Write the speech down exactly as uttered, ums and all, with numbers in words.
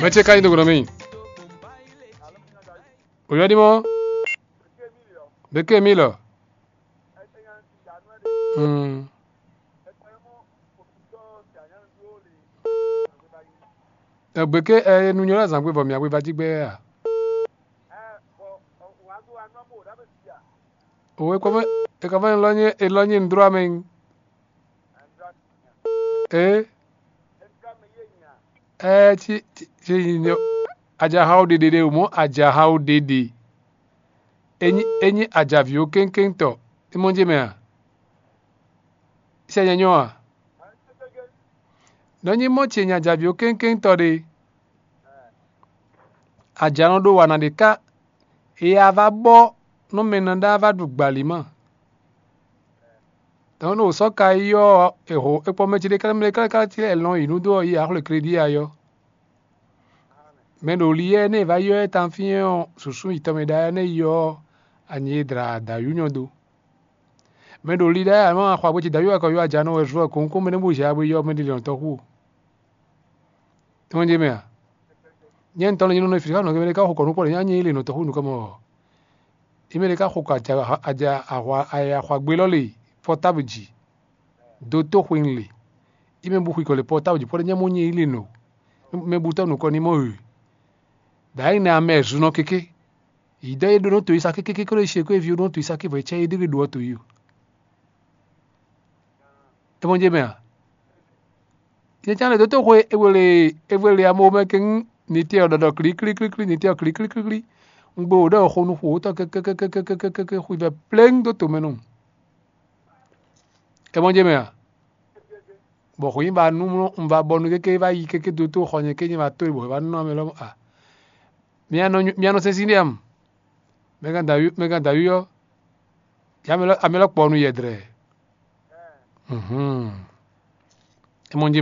Mɛ ce ka nyí do gɔnɔ mì. Oyɔ́ ɖi mɔ. Beke mi lɔ. Hmm. Beke ɛ nu nyɔ lɛ zangbe bɔ mia weva jí gbɛ a? O e kɔ fɛ e kɔ fɛ lɔ nyɛ e lɔ nyɛ ndro amɛ. Ee. Ɛɛ, ci ci ci nyɔ ajaha o ɖeɖe ɖe o mɔ ajaha o ɖeɖe. Enyi enyi ajavi o kéŋkéŋtɔ. E mɔ jɛ mɛ a? Sɛ nyɛ nyɔ a? Nɔ nyi mɔ ce nyi ajavi o kéŋkéŋtɔ ɖe. Ajanɔ ɖo wa na ɖe ká. E a va bɔ nú mɛ nɔ ɖá va ɖu gbali ma. Dɔn ɖo sɔ́ ka yi ɔ́, è ho è kpɔ mɛ ce ɖé káká mɛ káká cí lɛ́ lɔn yi nú dó ɔ́ yi axwlé kléɖí ayɔ. Mɛ ɖo li yɛ nɛ va yɔ ɛ tan fí ɔ́, sǔsú yi tɔn mɛ ɖá ɛ nɛ yi ɔ́, anyi e dla dǎyú nyɔ dó. Mɛ ɖo li ɖá ɛ anɔ axwa gbé ce dǎyú akɔ yɔ ajanɔ wɛ zɔ kɔn kó mɛ nɛ bó zɛ agbe yɔ mɛ ɖé lɔn tɔxu. Tɔn jɛ mɛ a? Nyɛ ŋutɔ lɛ nyɛ nɔ fi xá nɔ mɛ ɖé ká xɔ kɔ nukpɔ ɖe nyɛ nyɛ yi le nɔ tɔxu nukɔ mɔ. Yi mɛ ɖé ká xɔ kɔ aja aja ahwa ahwa gbé lɔ le pɔtábl ji. Dotóxwin le. Yi mɛ bu xwi kɔ le pɔtábl ji pɔ́ ɖe nyɛ mɔ nyɛ yi le nɔ. Mɛ bu tɔ́ nukɔ ní mɔ e. Dǎ yi nɛ amɛ zunɔ kéké. Yi dɔ yi ɖó nɔ to yi sa kékéké kó ɖo yi se kó yi vi ɖó nɔ to yi sa ké vɔ yi cɛ yi ɖé ɖo ɔ to yi o. É mɔ jɛ mɛ a? Nyɛ cán ɖe dótó xwe é wele é wele amó mɛ kɛ́n ní tɛ ɔ́ ɖɔɖɔ klíklíklíklí ní tɛ ɔ́ klíklíklíklí. Un gbe wò ɖɔ xo nú xo wótɔ kɛkɛkɛkɛkɛkɛ xwivɛ pléŋ dó tomɛ nɔ. É mɔ jɛ mɛ a? Bɔ xwǐ ba nú un va bɔ nu kéké va yi kéké dótó xɔ nyɛ ké nyɛ va tó bɔ é va nɔ amɛ lɔ a. Mia nɔ mia nɔ sɛn sín ɖe am. Mɛ gán dǎyú mɛ gán dǎyú ɔ́. Yá amɛ lɔ amɛ lɔ kpɔ nu yɛdrɛ. Mhm. É mɔ jɛ